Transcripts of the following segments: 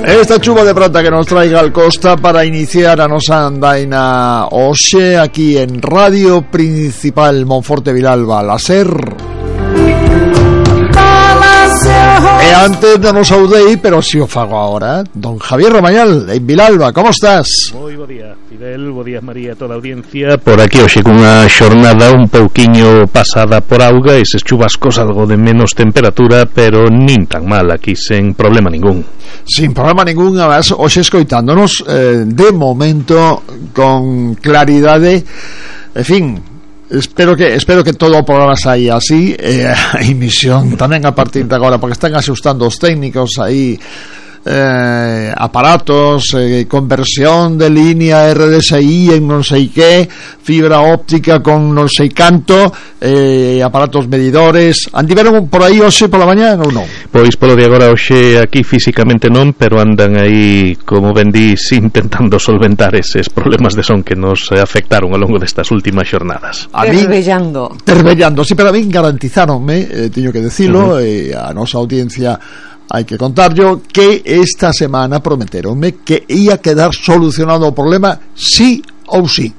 Esta chuva de prata que nos traiga al Costa para iniciar a nosa andaina hoxe aquí en Radio Principal Monforte Vilalba, la SER. E antes non nos saudei, pero si o fago agora, don Javier Romañal, en Vilalba, como estás? Moi bo día, Fidel, bo día María, toda a audiencia. Por aquí hoxe cunha xornada un pouquiño pasada por auga, eses chubascos algo de menos temperatura, pero nin tan mal, aquí sen problema ningún. Sin problema ningún, además, hoxe escoitándonos de momento con claridade, en fin. Espero que todo o programa saia así, a emisión tamén a partir de agora, porque están asustando os técnicos aí, aparatos, conversión de línea RDSI en non sei que, fibra óptica con non sei canto, aparatos medidores. Andiveron por aí hoxe pola mañá ou non? Pois polo de agora hoxe aquí físicamente non, pero andan aí, como ben dís, intentando solventar eses problemas de son que nos afectaron ao longo destas últimas xornadas. Terbellando, sí, pero a min garantizáronme, teño que decilo, a nosa audiencia hai que contarlo, que esta semana prometeronme que ia quedar solucionado o problema sí ou sí.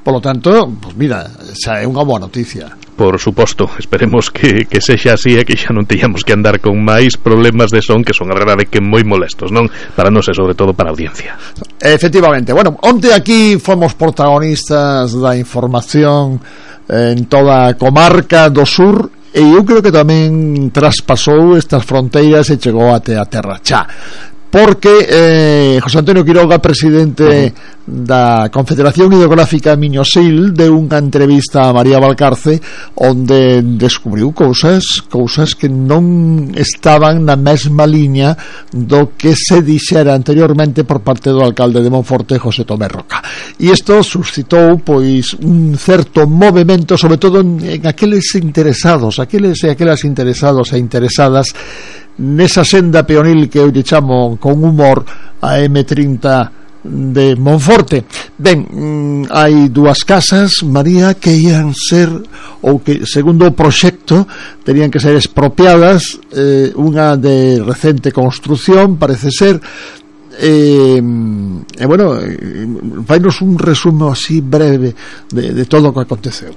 Por lo tanto, pues mira, xa é unha boa noticia. Por suposto, esperemos que sexa así e que xa non teñamos que andar con máis problemas de son, que son a verdade que moi molestos, non? Para nós e sobre todo para a audiencia. Efectivamente, bueno, onte aquí fomos protagonistas da información en toda a comarca do sur, e eu creo que tamén traspasou estas fronteiras e chegou até a terra xa, porque José Antonio Quiroga, presidente da Confederación Hidrográfica Miño-Sil, deu unha entrevista a María Valcarce onde descubriu cousas que non estaban na mesma liña do que se dixera anteriormente por parte do alcalde de Monforte, José Tomé Roca, e isto suscitou pois un certo movemento, sobre todo en aqueles interesados, aqueles e aquelas interesados e interesadas nesa senda peonil que eu lle chamo con humor a M30 de Monforte. Ben, hai dúas casas, María, que ian ser, ou que segundo o proxecto terían que ser expropiadas, unha de recente construción, parece ser, bueno, fainos un resumo así breve de todo o que aconteceu.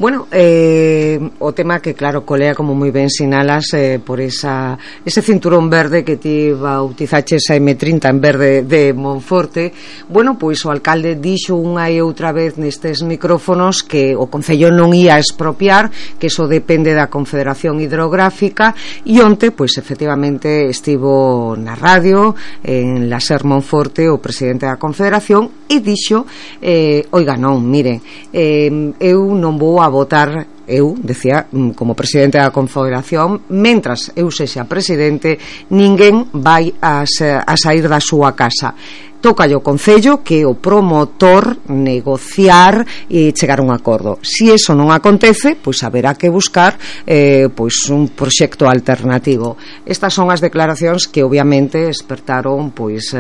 Bueno, o tema que claro colea, como moi ben sinalas, por ese cinturón verde que ti bautizaches a M30 en verde de Monforte. Bueno, pois o alcalde dixo unha e outra vez nestes micrófonos que o Concello non ia expropiar, que eso depende da Confederación Hidrográfica, e onte, pois efectivamente estivo na radio en la SER Monforte o presidente da Confederación e dixo, oiga, non, mire, eu non vou a votar, eu, decía, como presidente da Confederación, mentras eu sexa presidente, ninguén vai a sair da súa casa. Tócalle o Concello, que é o promotor, negociar e chegar a un acordo. Si eso non acontece, pois haberá que buscar pois un proxecto alternativo. Estas son as declaracións que obviamente despertaron pois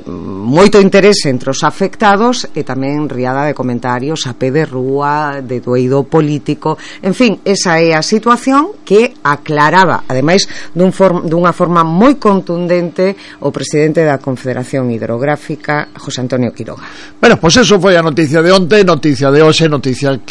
moito interese entre os afectados e tamén riada de comentarios a pé de rúa, de doído político. En fin, esa é a situación que aclaraba, ademais dunha forma moi contundente, o presidente da Confederación Hidrográfica, José Antonio Quiroga. Bueno, pues eso foi a noticia de onte, noticia de hoxe, noticia que